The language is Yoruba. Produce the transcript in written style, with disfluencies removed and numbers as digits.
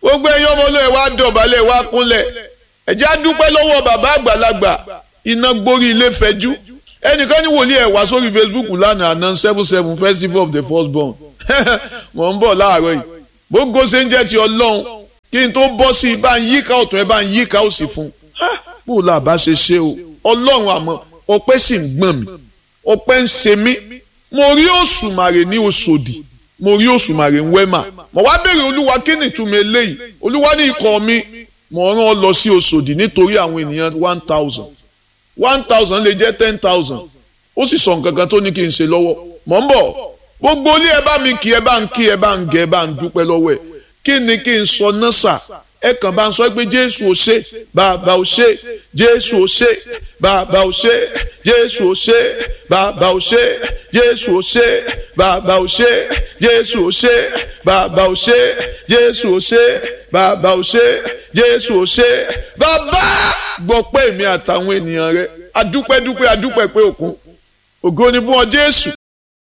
Gbogbo ẹ̀yin ọmọ olóyè wa dọ̀bálẹ̀ wa kúnlẹ̀. Ẹ jẹ́ á dúpẹ́ lọ́wọ́ bàbá àgbàlagbà, iná gborí ilé fẹjú. Ẹnìkan ní wòlíì ẹ̀ wá sórí Facebook lánàá, àná 7/7 festival of the firstborn. Mò ń bọ̀ láàárọ̀ yìí. Gbogbo ṣe ń jẹ́ ti Ọlọ́run, kí n tó bọ́ sí i, bá ń yíká ọ̀tún ẹ bá ń yíká òsì fún un. Bó la bá ṣe ṣe o, Ọlọ́run, àmọ́ ọpẹ́ sì ń gbọ̀n mi, ọpẹ́ ń ṣe mí. Mo rí òṣùmàrè ní Òṣòdì, mo rí òṣùmàrè ń Wẹ́mà. Mo wá béèrè, Olúwa, kí ni ìtumọ̀ eléyìí? Olúwa ní ikọ̀ mi, mo rán ọ lọ sí Òṣòdì nítorí àwọn ènìyàn 1,000. 1,000 lè jẹ́ 10,000. Ó sì sọ nǹkan kan tó ní kí n ṣe lọ́wọ́. Mò ń bọ̀. Gbogbo ilé, ẹ bá mi kí, ẹ bá ń kí, ẹ bá ń gẹ, ẹ bá ń dúpẹ́ lọ́wọ́ ẹ. Kí ni kí n sọ náà sà? Ẹ kàn bá ń sọ pé Jésù ò ṣe, Bàbá ò ṣe, Jésù ò ṣe, Bàbá ò ṣe, Jésù ò ṣe, Bàbá ò ṣe, Jésù ò ṣe, Bàbá ò ṣe, Jésù ò ṣe, Bàbá ò ṣe, Jésù ò ṣe, Bàbá ò ṣe, Jésù ò ṣe. Bàbá gbọ́ pé èmi àtàwọn ènìyàn rẹ adúpẹ́ dúpẹ́ adúpẹ́ pé òkun ògo ni fún ọ, Jésù.